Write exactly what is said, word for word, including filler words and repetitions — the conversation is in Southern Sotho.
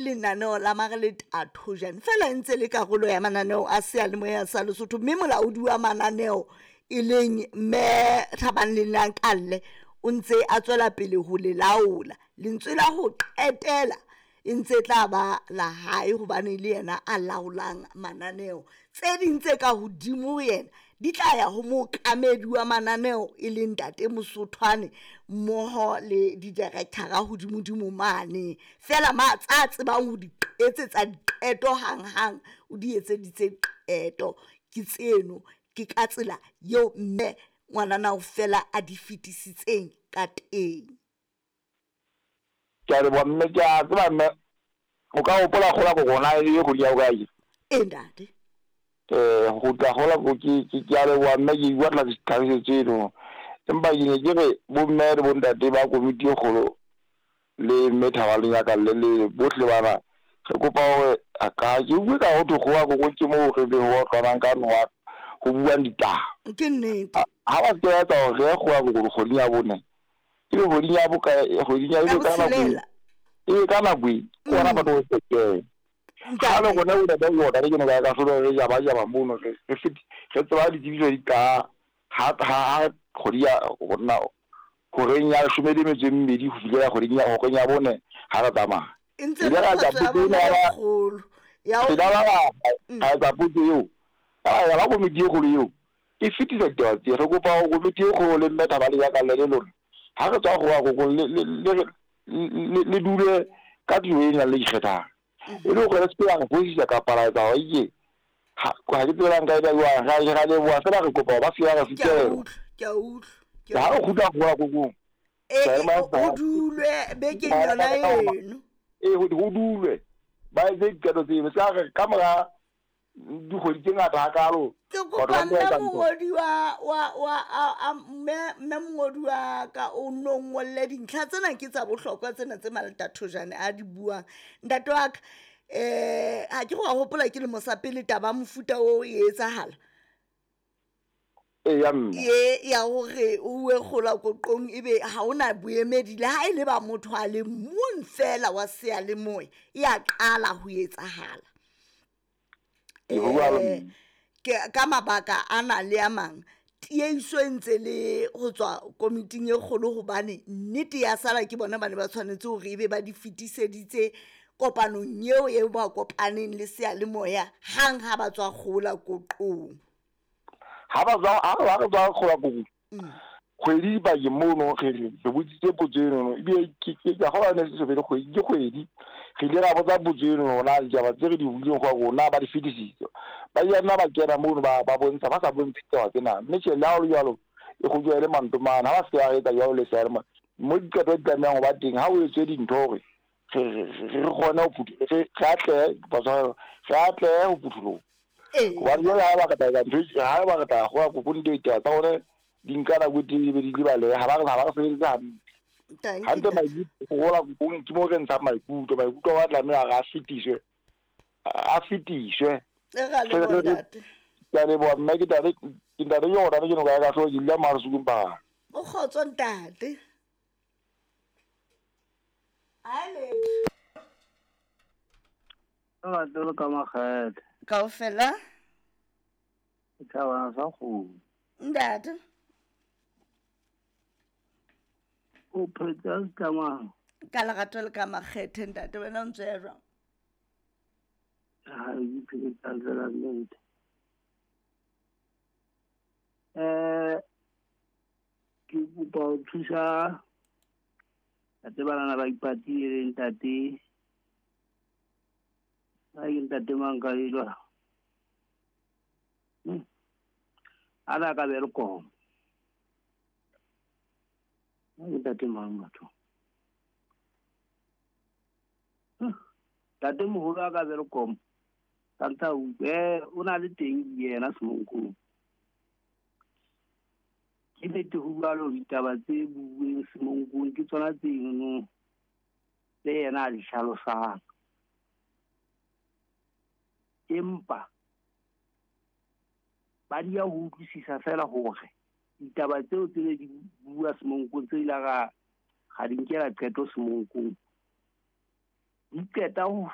Lenaneo la Mareleta Thojane fela e ntse le karolo ya mananeo a seyalemoya sa Lesotho, mme molaodi wa mananeo e leng mme Thabang Lenakalle o ntse a tswela pele ho le laola. Lentswe la ho qetela e ntse tla ba la hae hobane le yena a laolang mananeo. Tse ding tse ka hodimo ho yena di tla ya ho mookamedi wa mananeo e leng ntate Mosothwane mmoho le di-director-a hodimodimo mane. Feela ma tsa tsebang ho di etsetsa diqeto hanghang, o di etseditse qeto. Ke tseno, ke ka tsela eo mme ngwanana fela a di fetisitseng ka teng. Ke a leboha mme, ke a tseba mme o ka hopola kgola ko rona e le kgwedi ya bokae? E ntate. Eh go tla gola ko ke ke ke a leboha mme, ke batla tlhakisetso eno, empa ke ne ke re bomme le bontate ba komiti e kgolo le mme Thabo Lenyakalle le bohle bana, re kopa hore ka ke bue ka ho thwe kgowa koko ke moo re be ho otlwanang ka nowa ho buang ditaba. Ke nnete. Ha ba se ba etsa hore re ye kgowa koko kgweding ya bone, ebe kgweding ya bokae, kgweding ya ebe ka nako ebe ka nako e ke ona batho go sekela ha le rona o ntate o ke no ka ka solo re jaba jaba mono re re feti re tseba ditsebiso di ka ha ha kgwedi ya rona horeng ya leshome le metso e mmedi ho fihlela kgweding ya horeng ya bone ha re tsamaya. E ntse le kgotso ya bona e kgolo ya re la ra etsa potso eo ya ba komiti e kgolo eo e fetisa ditaba tse. Re kopa hore komiti e kgolo le mme Thabo Lenyakalle le lona ha re tswa go wa koko le le le le dule ka tulo e nang le ikgethang, e le hore re se ke ra re fosisa kapa ra etsa hore ke ha ha ke tsebe nka e jwang. Ra ra leboha fela, re kopa ba se ba re Ke a fitela utlwa, ke a utlwa, ke a ha re kgutla go wa kokong e ho dulwe bekeng yona eno. E ho dulwe ba etse diqeto tseno se re ka mora dikgwedi tse ngata hakalo. Ke kopa mme mongodi wa wa wa a mme mme mongodi wa ka o no ngolle dintlha tsena ke tsa bohlokwa tsena tse Maleta Thojane a di buang. Ntate wa ka, eh ha ke go a hopola ke lemo sa pele taba mofuta o e etsahala. E ya mme Ye ya hore o uwe kgola koqong ebe ha hona boemedi le ha e le ba motho a le mong fela wa seyalemoya e a qala ho etsahala. Eh ke ka mabaka ana le a mang tieiso e ntse le ho tswa komiting e kgolo hobane nnete ya sala ke bona ba ne ba tshwanetse hore ebe ba di fetiseditse kopanong eo e ba kopaneng le seyalemoya hang ha ba tswa kgola koqong. Ha ba tswa ha ba re tswa kgola kokong kgwedi bakeng mono re re botsitse potso eno ebile ke ke ka gola ne se fele kgwedi ke kgwedi re ile ra botsa potso eno na ditaba tse re di buileng go rona ba di fetisitse ba ile nna ba kena mono ba ba bontsha ba sa bontshe ditaba tsena mme tjhe le ha ho le jwalo e kgutjwa e le mantomane ha ba se ba etsa jwalo le sealemo mo diqeto di tlamehang ho ba teng ha o etswe dintho hore re re kgone ho phuthu re re atlehe re atlehe ho phutholoha. Hobane jwale ha ba ka tla ntho ha ba ka tla go kokong ditaba tsa hore di nka nako e telele be di lebaleha ha ba re ha ba re sebeditse hantle hantle maikutlo go kokong ke mo re ntshang maikutlo maikutlo a tlameha a fetiswe a fetiswe. Ke a leboha mme ke ntate ke ntate yona ke no ka ka hlo ke dula Marsukung ba. O kgotso ntate. Ale. Lerato le ka makgethe. Kaofela? Thabana sa kgomo. Ntate. O phetse ka mang? Ka lerato le ka makgethe ntate, wena o ntse ya jwang? Ha ke phetse ka tsela nnete. Eh ke kopa ho thusa ntate bana ba ipatile ntate. Ba ke ntate mang ka ilwa. Hmm. Ana ka Welkom. Ba ke ntate mang batho. Ntate moholo a ka Welkom. Tanta o eh o na le teng yena Semonkong. Ke nnete ho jwalo ditaba tse buuweng Semonkong ke tsona tse eno tse yena a di hlalosang. Empa ba di ya ho utlwisisa fela hore ditaba tseo tse ne di bua Semonkong tse ile ra ga di nkela qeto Semonkong di qeta ho